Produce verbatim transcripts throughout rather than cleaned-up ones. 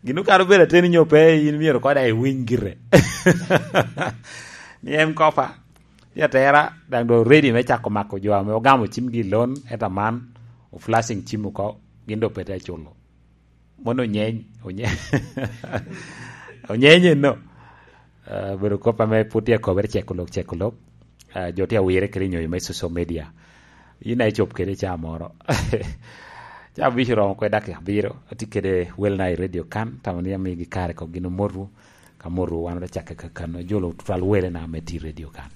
Gin okaro bedo ateni nyo pe, in myero kode iwiny gire. Ni en kopa. Ya tera, daŋ do ready me cako mako jo ame ogamo cimgi i lon, ento man, o flashing cim oko, gin do pe te culo. Mono onyeny, onye-, onyenye no. Ah, bedo kop ame pwod tye akobere ceko lok, ceko lok. Ah, jo tye awire kede nyoyo me social media. In a icop kede ca moro. Ca abic oromo kwe dakika abiro. Atye kede Well Nile Radio kan, tamo ni amigi kare kok gin omotu. Ka motu wan ote cake kakano. Jolo tutwal wele na me ti radio kan.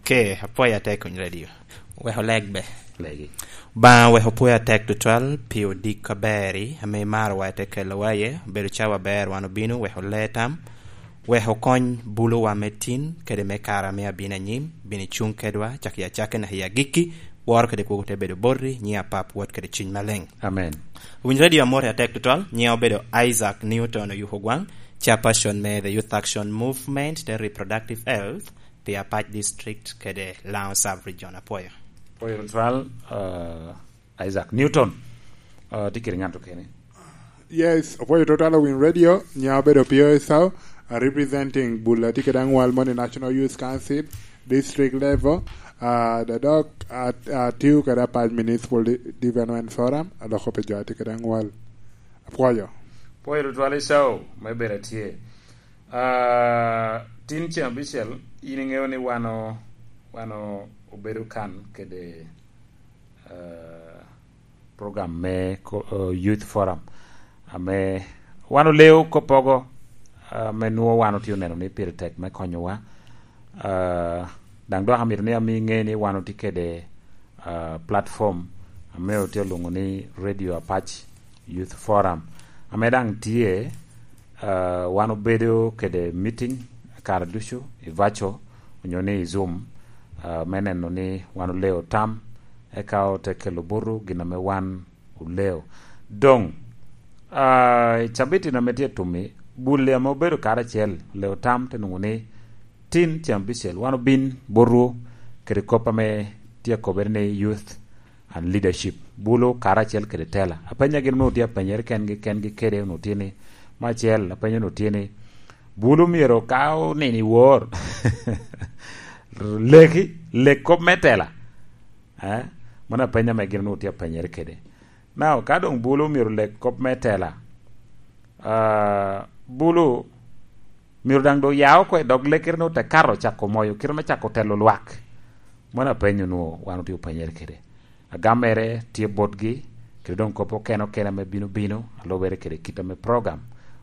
Ke, apwoyo atek kuny radio. Weko leg be. Legi. Ba weko pwoyo atek tutwal pi odik aber-ri, ame imaro wa ite kelo wa ye, bedo cawa aber wan obino, weko le tam, weko kony bulu wa me tin, kede me kara me abino anyim, bino icung kedwa, cak i acakki naka i agikki, woro kede kwogo te bedo boti, nyi apap wot kede cwiny maleng. Amen. Winy radio amor atek tutwal, nyiŋa obedo Isaac Newton Oyuko Gwang, chairperson me The Youth Action Movement, the Reproductive Health, pi Apac District kede Lango Sub Region. Apwoyo. Apwoyo tutwal, uh, Isaac Newton. Uh, tye kede ŋat okene. Yes, apwoyo tutwal Win Radio, nyiŋa obedo Pio Esau, uh, representing Bula tye kede aŋwal moni National Youth Council, district level, uh, the dog, uh, uh, tiu kede Apac Municipal Di-, Development Forum, aloko pe jo tye kede aŋwal. Apwoyo. Apwoyo tutwal Esau, me bedo atye. Ah, tin ceng abicel, in iŋeo ni wan o-, wan o-, obedo kan kede, ah, program me ko-, eh, Youth Forum, ame wan oleo koppogo, ah, ame nwoŋo wan otye oneno ni pire tek me konyowa. Ah, daŋ dok amito ni ami iŋe ni wan otye kede, ah, platform ame otye olwoŋo ni Radio Apac Youth Forum, ame daŋ tye, ah, wan obedo kede meeting kare ducu i virtual onyo ni i Zoom, ah, me neno ni wan oleo tam, eka ote kelo buto gin ame wan oleo. Doŋ, ah, i cabit ame tye tum-mi, Buli ame obedo karacel, oleo tam te nwoŋo ni tin ceng abicel wan obin botwu kede kop ame tye akobere ni Youth and Leadership, Bulu karacel kede Tela. Apenya gin onwoŋo tye apenyere kengi, kengi kede onwoŋo tye ni, me acel, apenya onwoŋo tye ni, Bulu myero ka onino i wor, leki, lek kop me Tela. Eh? Mano apenya ame gin onwoŋo tye apenyere kede. Now, ka doŋ Bulu myero lek kop me Tela, ah, Bulu myero daŋ doŋ ya oko i dog lekkere ni ote kato cako moyo kite me cako telo lwak. Mano apenyo onwoŋo wan otye openyere kede. Agammere tye botgi, kede doŋ kop okene okene ame bino bino, a lubere kede kit ame program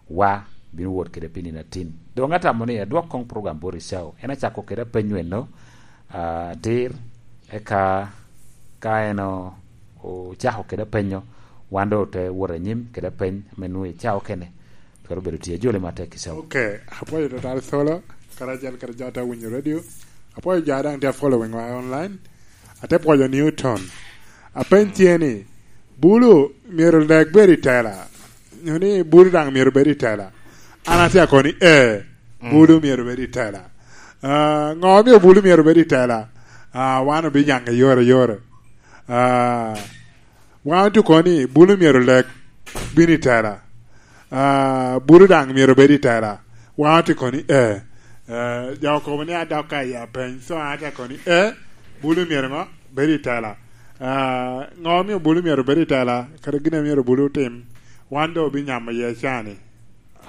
wa bino wot kede pi nino atin. Doŋ atamo ni adwok koŋ program bot Icao. En acako kede apenyo eno, ah, atir, eka ka en o-, ocako kede apenyo, wan doŋ ote wot anyim kede apeny ame nwoŋo Icao kene. Twero bedo tye ajoli matek i cawa. Ok, apwoyo tutwal Solo, karacel kede jo ate winyo radio. Apwoyo jo a daŋ tye a following wa online. Ate pwoyo Newton. Apeny tye ni, Bulu myero leg bed i Tela. Nyo ni Bulu daŋ myero bed i Tela. An atye akoni, ee, Bulu myero bed i Tela. Ah, ŋo omio Bulu myero bed i Tela? Ah, wan obiyaŋe yore yore. Ah, Wan otye kono ni Bulu myero leg bino i Tela. Ah, Bulu daŋ myero bed i Tela. Wan otye kono ni, ee. Eh, jo okobo ni adok ka i apeny. So, an atye kono ni, ee, Bulu myero ŋo? Bed i Tela. Ah, ŋo omio Bulu myero bed i Tela? Kadi gin a myero Bulu otim, wan doŋ obinyamo iye cani.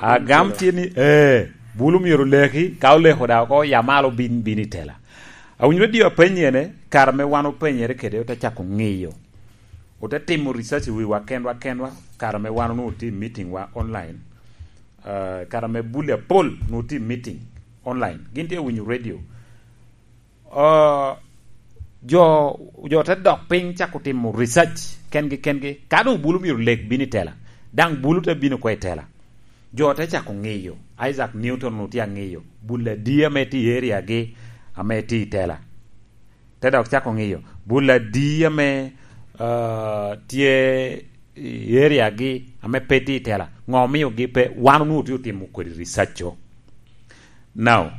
Agam tye ni, ee, Bulu myero leki, ka oleko daŋ oko, ya malo bin, bin i Tela. Awinyo radio apenyi ene, kare ame wan openyere kede, ote cako ŋiyo. Ote timo research i wiwa kenwa kenwa, kare ame wan onwoŋo tye i meeting wa online. Ah, kare ame Buli apol onwoŋo tye i meeting online. Gin tye winyo radio. Ah, jo, jo te dok piny cako timo research kengi kengi. Ka doŋ Bulu myero leg bino i Tela, daŋ Bulu te bino oko i Tela. Jo te cako ŋiyo. Isaac Newton onwoŋo tye aŋiyo. Bul adi ame tye i area gi ame tye i Tela. Te dok cako ŋiyo. Bul adi ame, ah, tye i area gi ame pe tye i Tela. Ŋo omiogi pe? Wan onwoŋo tye otimo kodi research-co. Now,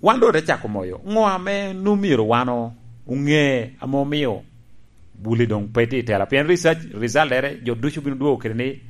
wan doŋ ote cako moyo. Ŋo ame nwoŋo myero wan o-, oŋe ame omio Buli doŋ pe tye i Tela? Pien research, result-ere, jo ducu bino dwogo kede ni